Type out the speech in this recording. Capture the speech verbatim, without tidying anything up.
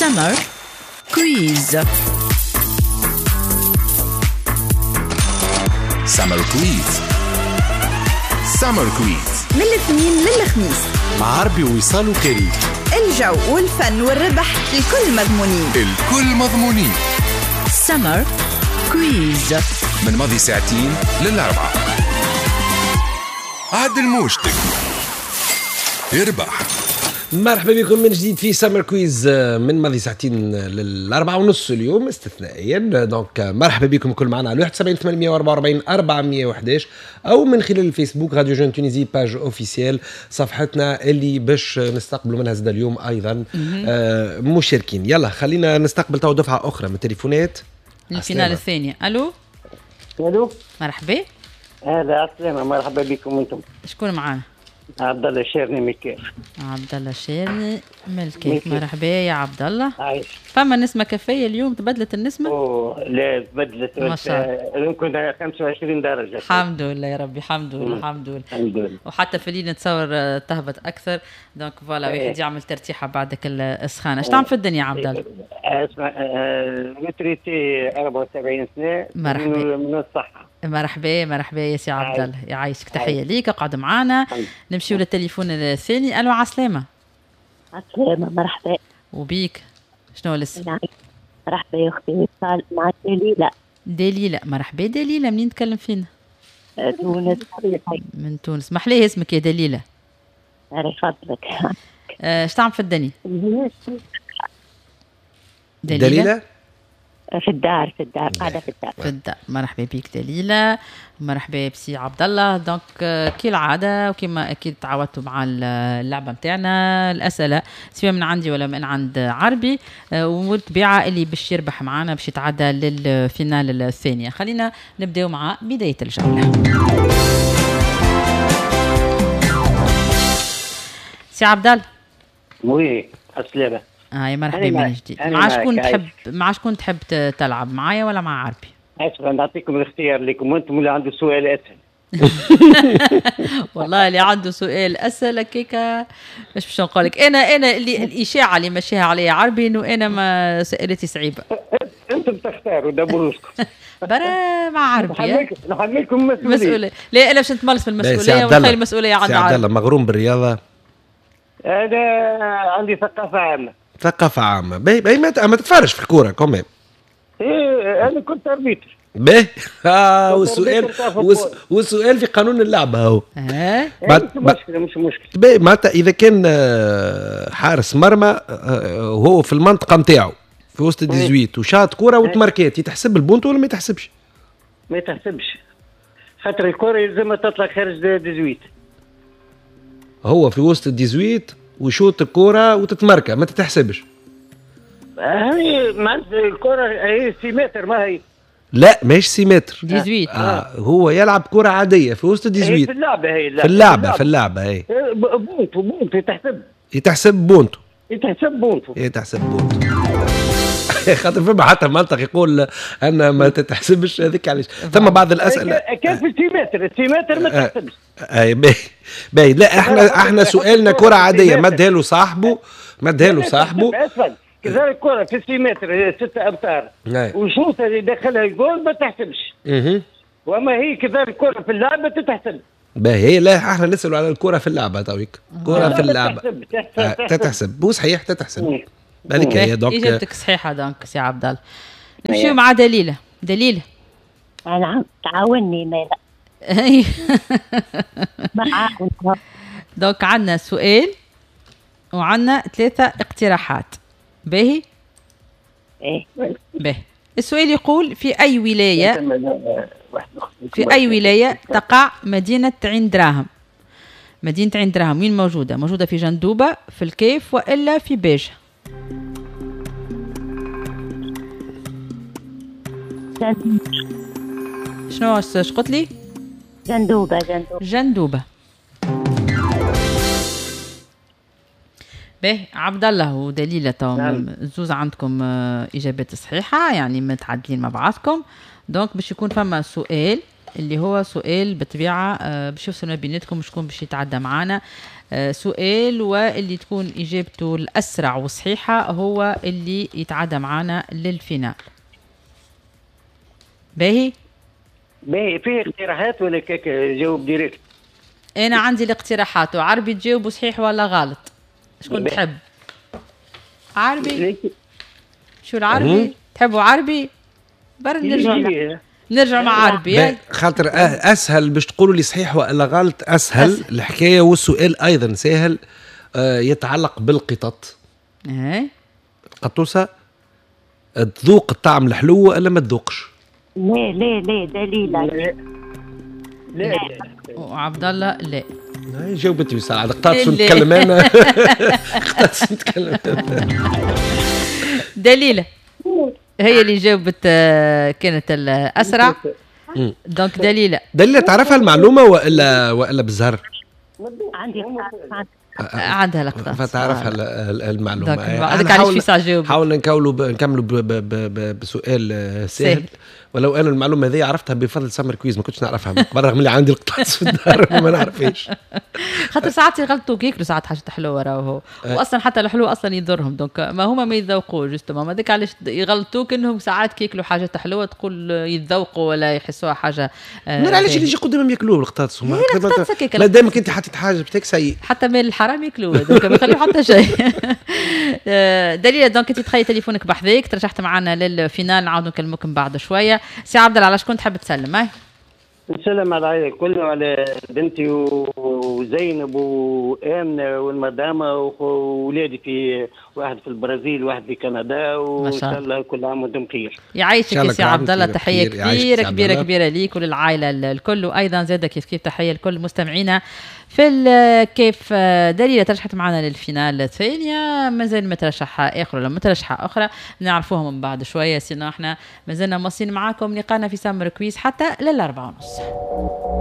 Summer Quiz. Summer Quiz. Summer Quiz من الاثنين للخميس مع عربي ووصال وكريم. الجو والفن والربح الكل مضمونين، الكل مضمونين. Summer Quiz من ماضي ساعتين للأربعة. عدل موجتك اربح. مرحبا بكم من جديد في Summer Quiz من ماضي ساعتين للأربعة ونص اليوم استثنائيا. donc مرحبا بكم كل معنا على واحد وسبعين ثمانمية وأربعة وأربعين أربعمية وإحداش او من خلال الفيسبوك Radio Jeune Tunisie page officielle صفحتنا اللي باش نستقبلوا منها زاد اليوم ايضا آه مشاركين. يلا خلينا نستقبل تو دفعه اخرى من التليفونات ال finale الثانية. الو الو، مرحبا. هلا السلامة، مرحبا بكم انتم. شكون معانا؟ عبد الله الشيرني من الكاف. عبد الله الشيرني من الكاف، مرحبا يا عبد الله. عايش. فما نسمة كافية اليوم، تبدلت النسمة؟ اوه لا تبدلت، ما شاء الله يمكن خمسة وعشرين درجة. الحمد لله يا ربي، الحمد لله الحمد لله الحمد لله. وحتى في الليل نتصور تهبط أكثر، donc voilà واحد يعمل ترتيحة بعدك السخانة. اش تعمل في الدنيا يا عبد الله؟ اسمع، retraité أربعة وسبعين سنة. مرحبا. من الصحة. مرحبا مرحبا يا سي عبد الله، يعيشك، تحية ليك، اقعد معانا. نمشيو للتليفون الثاني. الو عسلامة. عسلامة، مرحبا. وبيك، شنو الاسم؟ مرحبا يا اختي وصال، معك دليلة. دليلة، مرحبا دليلة، منين تكلم فينا؟ تونس. من تونس، محلاه اسمك يا دليلة. الله يفضلك. اش تعمل في الدنيا؟ دليلة؟ دليلة؟ في الدار، في الدار، قاعدة في الدار. في الدار، مرحبا بك دليلة، مرحبا بسي عبد الله. donc كالعادة وكما أكيد تعودتوا مع اللعبة نتاعنا، الأسئلة سواء من عندي ولا من عند عربي، والطبيعة اللي باش يربح معنا باش يتعدى لل finale الثانية. خلينا نبداو مع بداية الجولة. سي عبد الله. oui، السلامة. هاي مرحبا من جديد. مع شكون تحب، مع شكون تحب تلعب، معايا ولا مع عربي؟ اسف، نعطيكم الاختيار لكم انتم، اللي عنده سؤال اسهل. والله اللي عنده سؤال اسهل هكاكا مش باش نقول لك انا انا اللي الاشاعة اللي ماشيها عليا عربي انه انا ما سئلتي صعيبة. انتم تختاروا دبروسكم. برا مع عربي نحملكم مسؤولية. لا انا باش نتملص من المسؤولية ونخلي المسؤولية عند عربي. عبد الله مغروم بالرياضة؟ انا عندي ثقافة عامة. ثقافة عامة، باهي باهي، ما, ما تتفرج في الكورة quand même. ايه انا كنت arbitre. باهي، اه والسؤال والسؤال في قانون اللعبة هو. اه مش مشكلة مش مشكلة. باهي، معناتها إذا كان حارس مرمى وهو في المنطقة نتاعو في وسط dix-huit وشاط كورة وتماركات، يتحسب البونتو ولا ما يتحسبش؟ ما يتحسبش، خاطر الكورة يلزمها تطلع خارج dix-huit. هو في وسط dix-huit ويشوط الكرة وتتمركى، ما تتحسبش. هي معناتها الكرة هي six mètres، ما هي؟ لا ماهيش six mètres. dix-huit. آه هو يلعب كرة عادية في وسط dix-huit. في اللعبة هي. في اللعبة في اللعبة هي. بونتو بونتو يتحسب. يتحسب بونتو. يتحسب بونتو. يتحسب بونتو. خاطر فما حتى منطق يقول ان ما تتحسبش هذيك علاش. ثم بعض الاسئلة كان في six mètres، six mètres ما تحسبش. اي باهي باهي. لا احنا احنا سؤالنا كره عادية، مدها له صاحبه، مدها له صاحبه. كذلك كره في six mètres ستة امتار وشوط اللي دخلها الجول ما تحسبش. وما هي كذلك كره في اللعبة تتحسب. باهي، لا احنا نسالوا على الكره في اللعبة تويك، كره في اللعبة تتحسب، وصحيح تتحسب. هذيك هي. donc اجابتك صحيحه donc سي عبد الله. نمشيو مع دليله. دليله. نعم، تعاوني مالا. donc عندنا سؤال وعندنا ثلاثة اقتراحات. باهي؟ ايه باهي. السؤال يقول في أي ولاية في أي ولاية تقع مدينة عين دراهم؟ مدينة عين دراهم وين موجودة؟ موجودة في جندوبة، في الكيف، وإلا في باجة؟ شنو اش قلت لي؟ جندوبة. جندوبة جندوبة. باهي عبد الله ودليلة تو زوز عندكم إجابات صحيحة، يعني متعادلين مع بعضكم. donc باش يكون فما سؤال اللي هو سؤال بالطبيعة آه، باش يفصل ما بيناتكم شكون باش يتعدى معانا. آه، سؤال واللي تكون اجابته الاسرع والصحيحه هو اللي يتعدى معانا لل finale. باهي؟ باهي. فيه اقتراحات ولا كيك جاوب direct؟ انا عندي الاقتراحات وعربي تجاوبوا صحيح ولا غلط. شكون تحب؟ عربي؟ شو العربي؟ تحبوا عربي؟ برا نرجع نرجع مع عربي خاطر اسهل باش تقولوا لي صحيح والا غلط. اسهل, أسهل. الحكاية والسؤال ايضا سهل، آه يتعلق بالقطط. ايه القطوسه تذوق الطعم الحلو والا ما تذوقش؟ لا لا لا دليلة لا لا. وعبد الله لا. جاوبت وصال على قطاطس نتكلم انا. قطاطس نتكلم. دليله هي اللي جاوبت كانت الاسرع. donc دليله دليله تعرفها المعلومة والا والا بالزهر؟ عندي عندها لقطات فتعرفها المعلومة. هذاك علاش في ساعة جاوب. حاولنا نكملوا نكملوا بسؤال سهل، ولو انا المعلومة هذه عرفتها بفضل Summer Quiz، ما كنتش نعرفها برغم اللي عندي القطاس في الدار ما نعرفهاش. خاطر ساعات يغلطوا ياكلوا ساعات حاجة حلوة راهو، واصلا حتى الحلو اصلا يضرهم، donc ما هما ما يتذوقوش justement، هذاك علاش يغلطوك انهم ساعات كياكلوا حاجة حلوة تقول يتذوقوا ولا يحسوها حاجة. ما علاش اللي يجي قدامهم ياكلوه القطاس هما؟ ما دامك انت حطيت حاجة بتاعك سيء حتى مال الحرام ياكلوه، donc ما يخليو حتى شيء. دليله donc انت تخيل تليفونك بحذاك، ترشحت معنا لل finale، نعاودوا نكلموك من بعد شوية. سي عبد الله على شكون تحب تسلم؟ هاي نسلم على العائلة الكل وعلى بنتي وزينب وامنه والمدامه وولادي، في واحد في البرازيل وواحد في كندا، وان شاء الله كل عام وانتم بخير. يعيشك يا سي عبد الله، تحية كبيرة كبيرة كبيرة ليك وللعائله الكل، وايضا زاده كيف كيف تحية لكل مستمعينا في الكيف. دليله ترشحت معنا لل finale الثانية، مازال مترشحه اخر ولا مترشحه اخرى نعرفوها من بعد شوية. sinon احنا مازلنا مواصلين معاكم لقانا في Summer Quiz حتى للأربعة ونص.